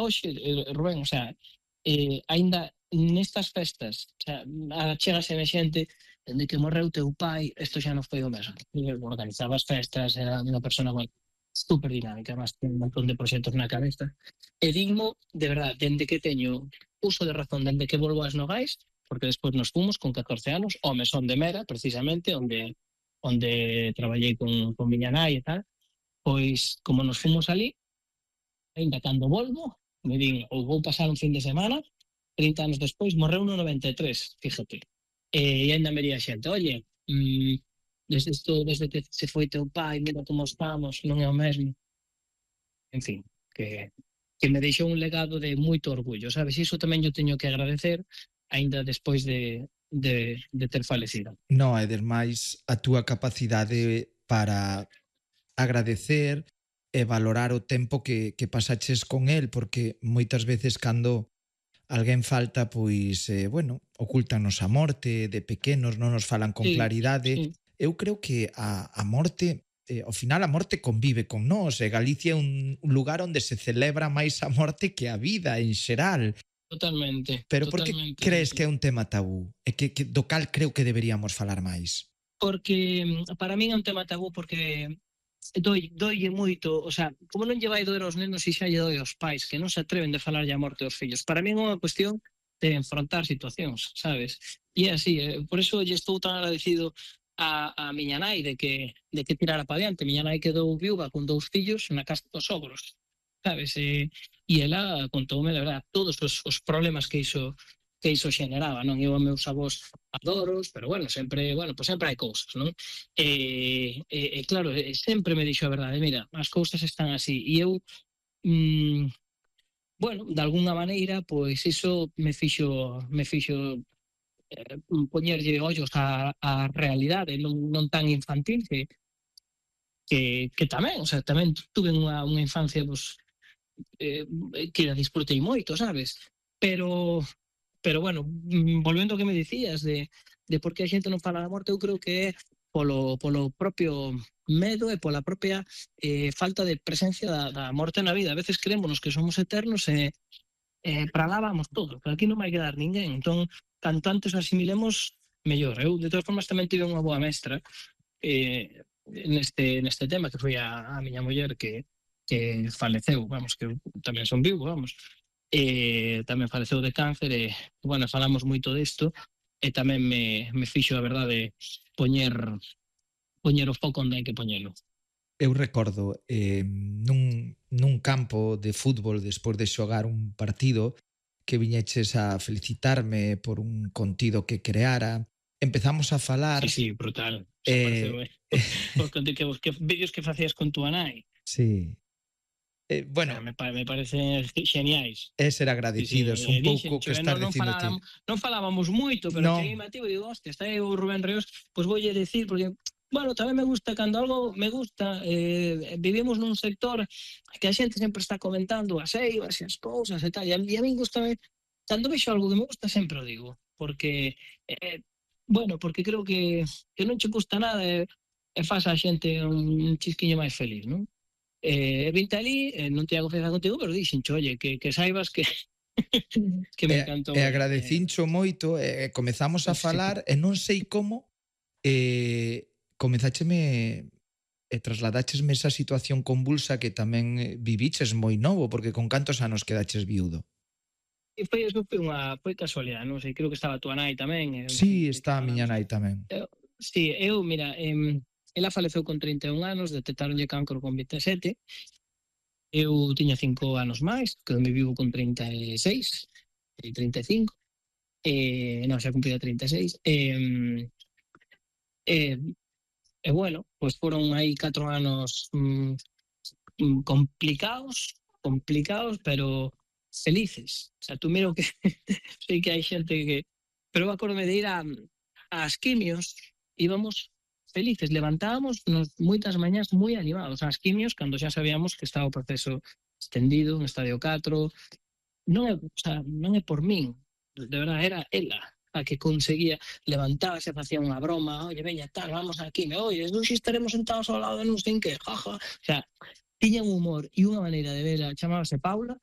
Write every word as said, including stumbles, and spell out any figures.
hoxe, eh, Rubén, o sea, eh, aínda nestas festas, o sea, chegase a xente dende que morreu teu pai, isto xa non foi o mesmo. Organizaba as festas, era unha persona, bueno, super dinámica, además ten un montón de proxectos na cabeza. E digmo, de verdad, dende que teño uso de razón, dende que volvo ás Nogais, porque despois nos fomos con catorce anos ao Mesón de Mera, precisamente, onde onde traballei con, con miña nai e tal, pois, como nos fomos ali, ainda cando volvo, me din, ou vou pasar un fin de semana, trinta anos despois, morreu no noventa e tres, fíjate. E ainda me diría xente, oye, mmm, desde, esto, desde que se foi teu pai, mira como estamos, non é o mesmo. En fin, que, que me deixou un legado de moito orgullo, sabes? Iso tamén yo teño que agradecer, aínda despois de, de, de ter falecido. No, e demais a túa capacidade para agradecer e valorar o tempo que, que pasaches con el, porque moitas veces cando alguén falta, pois, eh, bueno, ocultanos a morte, de pequenos non nos falan con Sí, claridade. sí. Eu creo que a, a morte, eh, ao final a morte convive con nós, e Galicia é un lugar onde se celebra máis a morte que a vida en xeral. Totalmente. Pero por que totalmente, crees sí, sí. que é un tema tabú? E que, que do cal creo que deberíamos falar máis? Porque para min é un tema tabú porque doi, doille moito, o sea, como non lle vai doer aos nenos e xa lle doi aos pais que non se atreven de falar a morte aos fillos. Para min é unha cuestión de enfrontar situacións, sabes? E é así, eh, por eso lle estou tan agradecido a, a miña nai de que, de que tirara para diante. Miña nai quedou viúva con dous fillos na casa dos sogros, sabes? E, e ela contoume, de verdad, todos os, os problemas que iso que iso xeneraba, non? Eu a meus avós adoros, pero bueno, sempre, bueno, pues sempre hai cousas, non? E, e, e claro, e sempre me dixo a verdade, mira, as cousas están así, e eu mm, bueno, de alguna maneira, pois iso me fixo me fixo eh, poñerlle ollos á, á realidade, non, non tan infantil que que, que tamén, o sea, tamén tuve unha, unha infancia pues, eh, que a disfrutei moito, sabes? Pero Pero bueno, volvendo ao que me dicías de, de por que a xente non fala da morte, eu creo que é polo, polo propio medo e pola propia eh, falta de presencia da, da morte na vida. A veces creémonos que somos eternos e eh, para lá vamos todos, pero aquí non vai quedar ninguén. Entón, canto antes o asimilemos, mellor. Eu, de todas formas, tamén tive unha boa mestra eh, neste, neste tema, que foi a, a miña muller que, que faleceu, vamos, que eu tamén son vivo, vamos. E tamén faleceu de cáncer e, bueno, falamos moito disto e tamén me, me fixo, a verdade, poñer poñer o foco onde hai que poñelo. Eu recordo eh, nun, nun campo de fútbol despois de xogar un partido que viñeches a felicitarme por un contido que creara. Empezamos a falar... Sí, sí, brutal. Se Eh, pareceu, eh? Os que, que, que vídeos que facías con túa nai. Sí. Eh, bueno, o sea, me, me parecen geniais. É ser agradecidos, sí, sí, un dixen, pouco que estás non, dicindo ti. Non falábamos moito, pero no. cheguei mativo e digo, hostia, está aí o Rubén Reos, pois pues voulle decir, porque, bueno, tamén me gusta, cando algo me gusta, eh, vivimos nun sector que a xente sempre está comentando as eivas e as cousas e tal, e a, e a mí gusta, cando vexo algo que me gusta sempre o digo, porque, eh, bueno, porque creo que, que non che gusta nada e, e faz a xente un chisquiño máis feliz, non? Eh, vinte ali, eh, non te hago confianza contigo, pero dixen, oye, que, que saibas que que me encantou. E, e agradecincho eh, moito, e eh, comezamos a falar, sí. E non sei como, eh, comezácheme e trasladáchesme esa situación convulsa que tamén viviches moi novo, porque con cantos anos quedaches viudo? E foi, eso foi unha foi casualidade, non sei, creo que estaba a tua nai tamén. Eh, sí, está a miña nai tamén. Eu, sí, eu, mira, eh, ela faleceu con trinta e un anos, detectaronlle cancro con vinte e sete. Eu tiña cinco anos máis, que me vivo con trinta e seis, e trinta e cinco. Eh, non, xa cumplida trinta e seis. Eh, eh, e bueno, pois pues foron aí catro anos mm, complicados, complicados, pero felices. O sea, tú miro que sei que hai xente que... Pero acordome de ir a, ás quimios, íbamos felices, levantábamos nos moitas mañás moi animados ás quimios, cando xa sabíamos que estaba o proceso extendido, en estadio catro. Non é, o sea, non é por min, de verdade, era ela a que conseguía, levantarse, facía unha broma, oye, veña, tal, vamos aquí, me oye, non si estaremos sentados ao lado de non sei en que, jaja. O sea, tiña un humor e unha maneira de ver, chamábase Paula,